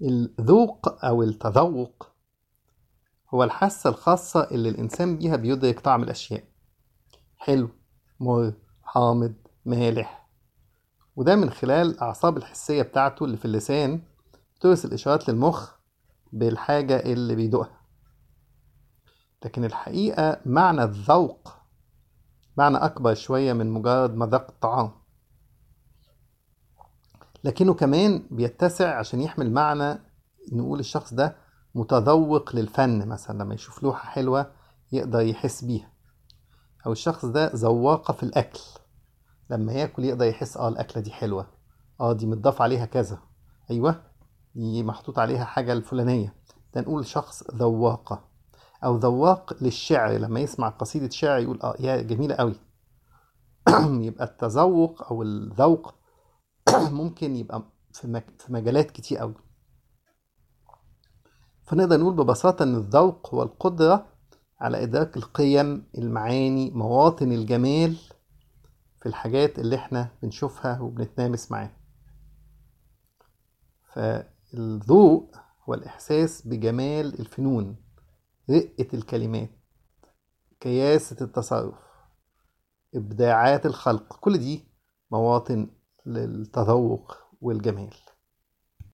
الذوق أو التذوق هو الحاسة الخاصة اللي الإنسان بيها بيدرك طعم الأشياء. حلو، مر، حامض، مالح. وده من خلال الأعصاب الحسية بتاعته اللي في اللسان بترسل إشارات للمخ بالحاجة اللي بيدوقها. لكن الحقيقة معنى الذوق معنى أكبر شوية من مجرد مذاق الطعام، لكنه كمان بيتسع عشان يحمل معنى. نقول الشخص ده متذوق للفن، مثلا لما يشوف لوحة حلوة يقدر يحس بيها. أو الشخص ده ذواقة في الأكل، لما ياكل يقدر يحس الأكلة دي حلوة، دي متضاف عليها كذا، أيوة دي محطوط عليها حاجة الفلانية. ده نقول شخص ذواقة. أو ذواق للشعر، لما يسمع قصيدة شعر يقول يا جميلة قوي. يبقى التذوق أو الذوق ممكن يبقى في مجالات كتير قوي. فنقدر نقول ببساطة إن الذوق هو القدرة على إدراك القيم، المعاني، مواطن الجمال في الحاجات اللي احنا بنشوفها وبنتنامس معاها. فالذوق هو الإحساس بجمال الفنون، رقة الكلمات، كياسة التصرف، إبداعات الخلق. كل دي مواطن للتذوق والجمال.